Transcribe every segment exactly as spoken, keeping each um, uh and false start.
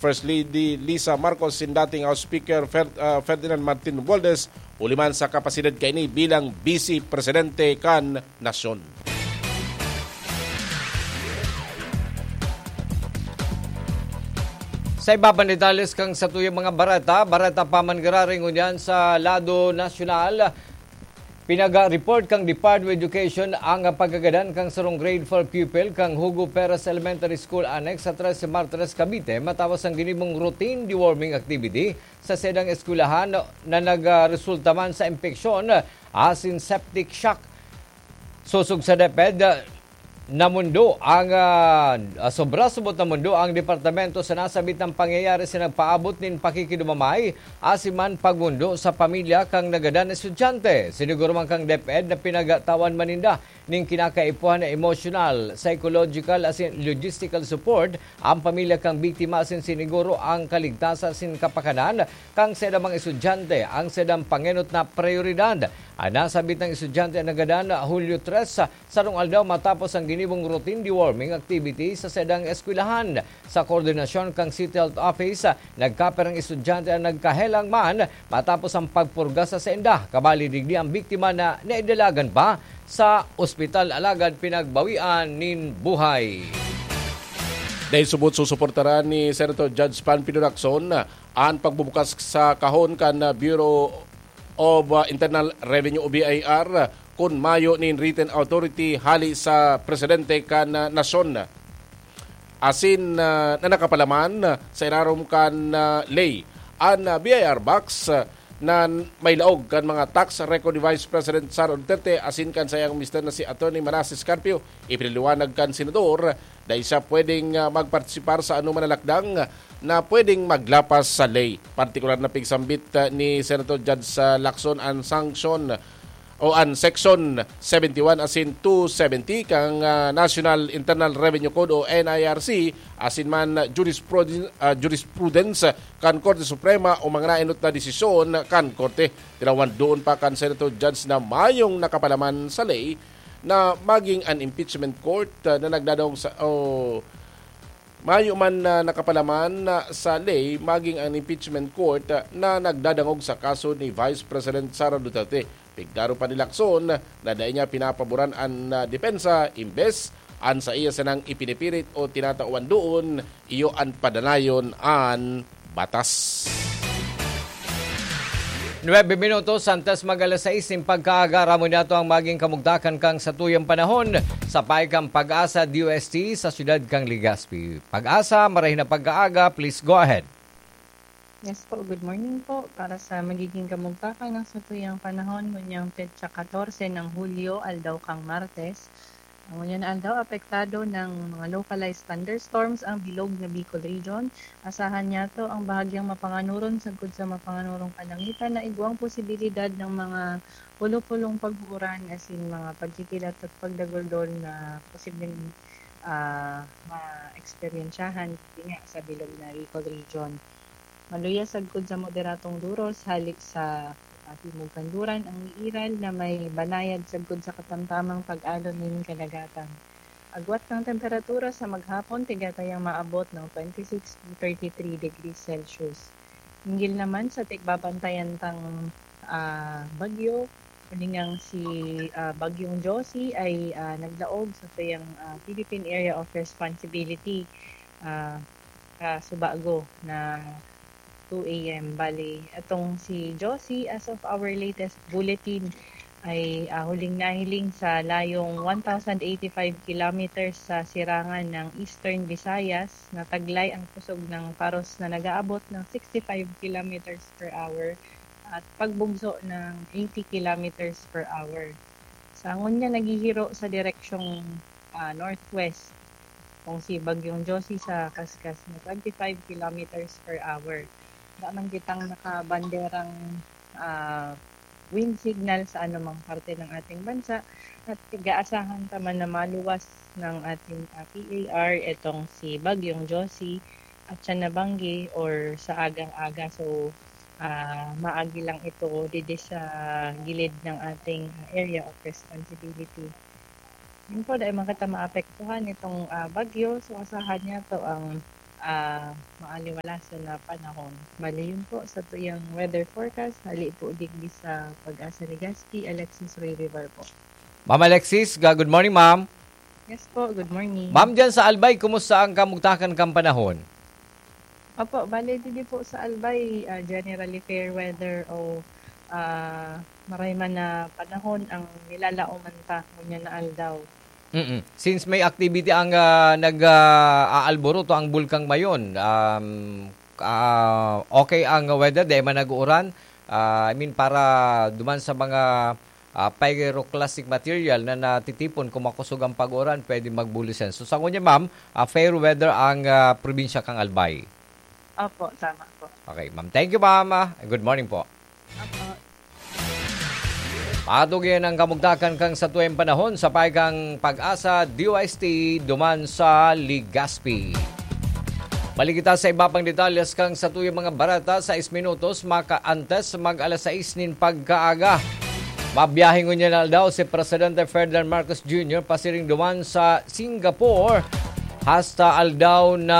First Lady Lisa Marcos asin dating House Speaker Fer-, ah, Ferdinand Martin Romualdez, huli man sa kapasidad kaini bilang Bise Presidente kan nasyon. Sa iba pang detalles kan satuyang mga bareta, bareta pa man giraray ngunyan sa lado nasyonal. Pinaga-report kan Department of Education ang pagkagadan kan sarong grade four pupil kan Hugo Perez Elementary School Annex sa Trece Martires, Cavite, matapos ang ginibong routine deworming activity sa saindang eskwelahan na nagresulta man sa impeksyon asin septic shock. Sosog sa DepEd, namondo ang, ah, sobra-sobot namondo ang departamento sa nasabitang pangyayari sa nagpaabot nin pakikidumamay asin man pagmondo sa pamilya kan nagadan na estudyante. Siniguro man kan DepEd na pinagtawan man ninda nin kinakaipuhan na emosyonal, psychological asin logistical support ang pamilya kan biktima asin siniguro ang kaligtasan asin kapakanan kan saindang mga estudyante ang saindang pangenot na prioridad. An nasabitang estudyante an nagadan Hulyo tres, sarong aldaw matapos ang ginibong routine deworming activity sa saindang eskwelahan. Sa koordinasyon kan City Health Office, nagkapirang estudyante an nagkahelang man matapos ang pagpurga sa sainda. Kabali digdi, ang biktima na naidalagan pa sa ospital alagad pinagbawian nin buhay. Dahil subot susuportaran ni Senator Judge Panfilo Lacson an pagbubukas sa kahon kan Bureau of, uh, Internal Revenue o B I R kun mayo nin written authority hali sa presidente kan, uh, nasyon asin, uh, na nakapalaman sa irarom kan, uh, ley. An, uh, B I R box, uh, na may laog kan mga tax record ni Vice President Sara Duterte asin kan saiyang mister na si Attorney Manases Carpio, ipinaliwanag kan senador dai siya pwedeng, ah, magpartisipar sa anoman na lakdang na pwedeng maglapas sa ley. Partikular na pigsambit, ah, ni Senator Judge, ah, Lacson an sanction o an Section seventy-one asin two seventy kan, ah, National Internal Revenue Code o N I R C asin man jurispruden-, ah, jurisprudence kan Korte Suprema o mga naenot na desisyon kan Korte. Tinawan doon pa kan Senator Judge na mayong nakapalaman sa ley na maging an impeachment court, ah, na nagdadangog sa, o mayo man na nakapalaman na sa ley, maging an impeachment court, ah, na nagdadangog sa kaso ni Vice President Sara Duterte. Pigdaro pa ni Lacson na dai niya pinapaboran an, ah, depensa, imbes an saiya sanang ipinipirit o tinatawan doon, iyo an padanayon an batas. Nuebe minutos antes mag alas sais nin pagkaaga, aramon niyato ang maging kamugtakan kan satuyang panahon sa payo kan PAGASA D O S T sa siyudad kan Legazpi. PAGASA, marahay na pagkaaga, please go ahead. Yes po, good morning po. Para sa magiging kamugtakan ng satuyang panahon, ngunyan petsa katorse ng Hulyo, aldaw kan Martes, ang ngunyan na aldaw, apektado ng mga localized thunderstorms ang bilog na Bicol Region. Asahan niyato ang bahagyang mapanganoron sagkod sa mapanganoron kalangitan na igwang posibilidad ng mga pulupulong pag-uuran, asin mga pagkikilat at pagdaguldol na posibleng, ah, maeksperiensyahan, yun nga, sa bilog na Bicol Region. Maluya sagkod sa moderadong duros, hale sa, ah, timog kanduran ang iiral na may banayad sagkod sa katamtamang pag-alon nin kadagatan. Agwat kan temperatura sa maghapon, tigatayang maabot ng twenty-six to thirty-three degrees Celsius. Hinggil naman sa tigbabantayan tang, ah, bagyo, kundi ngang si, ah, Bagyong Josie ay, ah, naglaog sa tuyang, ah, Philippine Area of Responsibility, ah, sa Subago na two A M. Bali, atong si Josie, as of our latest bulletin, ay, ah, huling nahiling sa layong one thousand eighty-five kilometers sa sirangan ng Eastern Visayas, na taglay ang kusog ng paros na nag-aabot ng sixty-five kilometers per hour at pagbugso ng eighty kilometers per hour. Sa ngunyan, naghihiro sa direksyong, ah, northwest, kung si Bagyong Josie sa kaskas na twenty-five kilometers per hour. Wala man kitang nakabanderang, ah, wind signal sa anumang parte ng ating bansa at tig-aasahan ta man na maluwas ng ating, ah, P A R itong si Bagyong Josie at siya nabanggi or sa agang-aga. So, ah, maagi lang ito didi sa gilid ng ating, ah, area of responsibility. Yun po, dahil man kita maapektuhan itong, ah, bagyo, so asahan niyato ang, ah, maaliwalasan na panahon. Bali, yun po sa tuyang weather forecast, hali po digdi sa Pag-asa Legazpi, Alexis Ray River po. Ma'am Alexis, ga-, good morning, ma'am. Yes po, good morning. Ma'am, dyan sa Albay, kumusta ang kamugtakan kang panahon? Opo, bale, didi po sa Albay, ah, generally fair weather o, ah, maray man na panahon ang nilalaoman ta ngunyan na aldaw. Mm. Since may activity ang, ah, nag, ah, aalburuto ang Bulkang Mayon, um, ah, okay ang weather, di man nag-uuran. Ah, I mean, para duman sa mga, ah, pyroclastic material na natitipon, kung makusog ang pag-uran, pwede magbulisan. So, sa ngunyan, ma'am, ah, fair weather ang, ah, probinsya kang Albay. Opo, tama po. Okay, ma'am. Thank you, ma'am. Ah, good morning po. Opo. Patugian ang kamugtakan kang satuyang panahon sa paikang Pag-asa D O S T duman sa Legazpi. Balik kita sa iba pang detalles kang satuyang mga bareta, sais minutos makaantes mag alas sais nin pagkaaga. Mabiyahe ngunyan na aldaw si Presidente Ferdinand Marcos Junior pasiring duman sa Singapore hasta aldaw na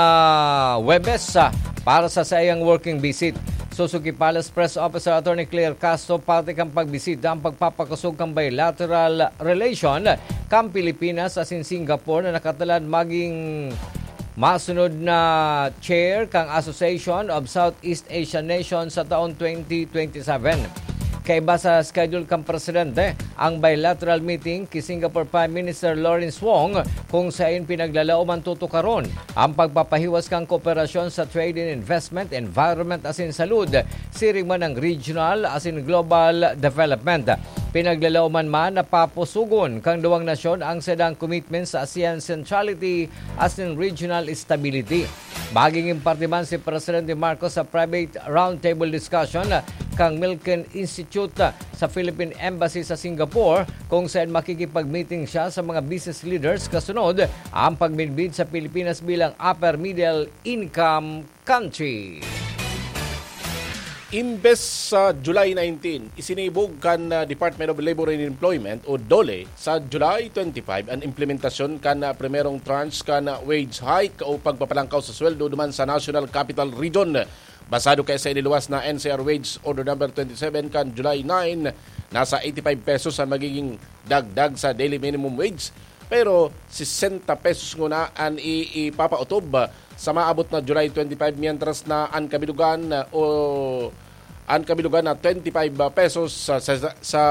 Huwebes, ah, para sa saiyang working visit. Suzuki Palace Press Officer Attorney Claire Castro, parte kan pagbisita ang pagpapakosog kan bilateral relation kan Pilipinas asin Singapore na nakatalad magin masunod na chair kan Association of Southeast Asian Nations sa taon twenty twenty-seven. Kaiba sa schedule kan presidente, ang bilateral meeting ki Singapore Prime Minister Lawrence Wong, kung saen pinaglalaoman tutukaron ang pagpapahiwas kan kooperasyon sa trade and investment, environment asin salud, siring man ang regional asin global development. Pinaglalaoman man na papusugon kan duwang nasyon ang saindang commitment sa ASEAN centrality asin regional stability. Magiging parte man si Presidente Marcos sa private roundtable discussion kan Milken Institute sa Philippine Embassy sa Singapore, kung saan makikipag-meeting siya sa mga business leaders kasunod ang pagmidbid sa Pilipinas bilang upper middle income country. Imbes sa July nineteen, isinibog kan, ah, Department of Labor and Employment o DOLE sa July twenty-five an implementasyon kan, ah, primerong tranche kan, ah, wage hike o pagpapalangkaw sa sweldo duman sa National Capital Region. Basado kaya sa iniluwas na N C R Wage Order Number twenty-seven kan July nine, nasa eighty-five pesos an magiging dagdag sa daily minimum wage, pero sesenta pesos nguna an i-, ipapaotob sa maabot na July twenty-five, mientras na an kabilugan, o an kabilugan na twenty-five pesos sa, sa, sa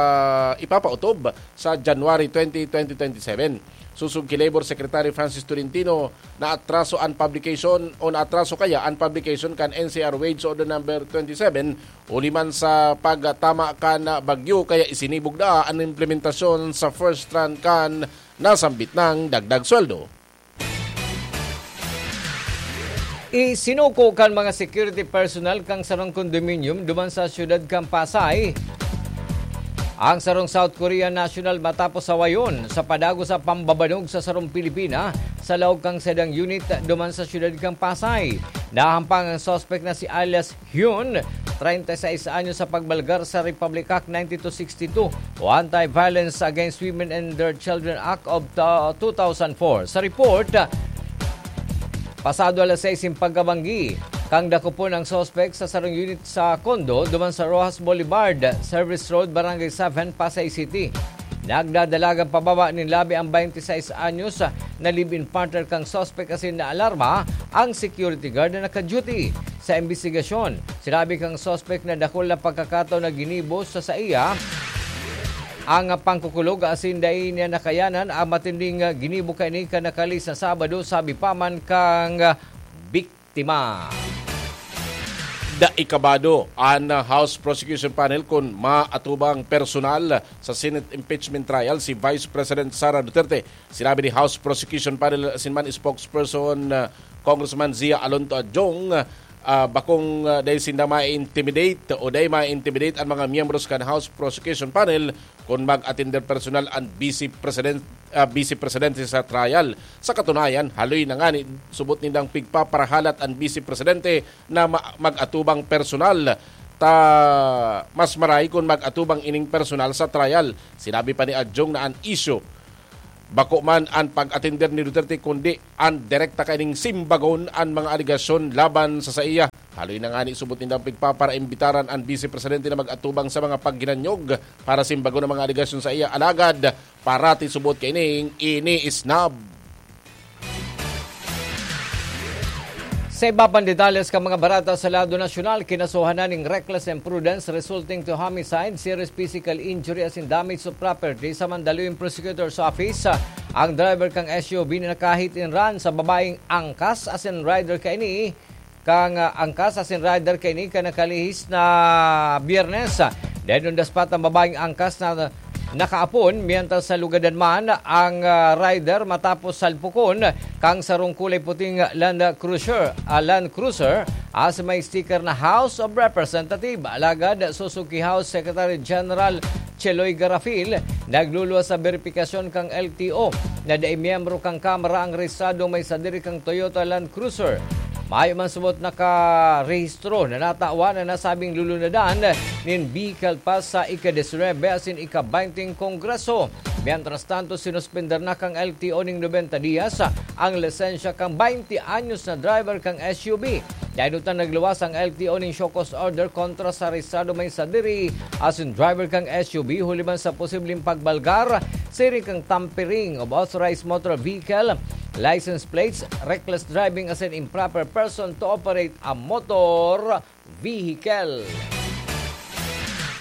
ipapaotob sa January twenty, twenty twenty-seven. Susog ki Labor Secretary Francis Tolentino, naatraso an publication o naatraso kaya an publication kan N C R Wage Order Number twenty-seven huli man sa pagtama kan bagyo, kaya isinibog na an implementasyon sa first round kan nasambit nang dagdag sweldo. Isinuko kan mga security personnel kan sarong condominium duman sa siyudad kan Pasay ang sarong South Korean national matapos sawayon sa padagos sa pambabanog sa sarong Pilipina sa laog kan saindang unit duman sa siyudad kan Pasay. Nahampang ang suspek na si alias Hyun, treinta y seis anyos, sa pagbalgar sa Republic Act ninety-two sixty-two o Anti-Violence Against Women and Their Children Act of, uh, two thousand four. Sa report, pasado alas sais nin pagkabanggi, kan dakopon ang suspek sa sarong unit sa kondo duman sa Roxas Boulevard, Service Road, Barangay seven, Pasay City. Nagdadalagan pababa nin labi ang twenty-six anyos na live-in partner kan suspek asin naalarma ang security guard na naka-duty. Sa imbestigasyon, sinabi kan suspek na dakul na pagkakataon na ginibo sa saiya ang pangkukulog asin dai niya nakayanan ang matinding ginibo kaini kan nakalis na Sabado, sabi pa man kan biktima. Dai kabado an House Prosecution Panel kun maatubang personal sa Senate impeachment trial si Vice President Sara Duterte. Sinabi ni House Prosecution Panel asin man spokesperson, uh, Congressman Zia Alonto Adjong, uh, bakong, uh, dai sinda ma-intimidate o dai ma-intimidate an mga miyembros kan House Prosecution Panel kun mag-atender personal an Vice President, ah, Vice Presidente sa trial. Sa katunayan, haloy na ngani subot nindang pigpaparahalat an Vice Presidente na ma-, mag-atubang personal. Ta mas maray kun mag-atubang ining personal sa trial. Sinabi pa ni Adjong na an isyu Bako man an pag-atender ni Duterte, kundi an direkta kaining simbagon an mga alegasyon laban sa saiya. Haloy na ngani subot nindang pigpaparaimbitar an Vice Presidente na mag-atubang sa mga pagginanyog para simbagon ang mga alegasyon saiya. Alagad, parati subot kaining iniisnab. Sa iba pang detalles kan mga barata sa lado nasyonal, kinasuhan na ning reckless imprudence resulting to homicide, serious physical injury asin damage to property sa Mandaluyong Prosecutor's Office ang driver kan S U V na naka-hit and run sa babaeng angkas asin rider kaini kan, ah, angkas asin rider kaini kan nakalihis na Biyernes. Dayon undas pa an babaeng angkas na nakaapon, mientras sa lugadan man ang, ah, rider matapos salpukon kang sarong kulay puting Land Cruiser, ah, Land Cruiser, as may sticker na House of Representative. Alagad, susuki House Secretary General Cheloy Garafil, nagluluwas sa beripikasyon kang L T O na dai miyembro kang Kamara ang rehistradong may sadiri kang Toyota Land Cruiser. Mayo man subot nakarehistro na natawan na nasabing lulunadan nin vehicle pa sa ika-disinuyebe asin ika-baynte Kongreso. Mientras tanto, sinuspender na kang L T O ning nobenta dias ang lisensya kang baynte anyos na driver kang S U V. Dayon ta nagluwas ang L T O ning show cause order kontra sa rehistrado may sadiri asin driver kang S U V huli man sa posibleng pagbalgar, siring kang tampering of authorized motor vehicle, license plates, reckless driving asin improper person to operate a motor vehicle.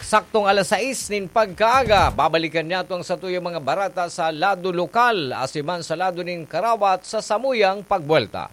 Saktong alas sais nin pagkaaga, babalikan niyato ang satuyang mga barata sa lado lokal, asin man sa lado nin karawat sa samuyang pagbuwelta.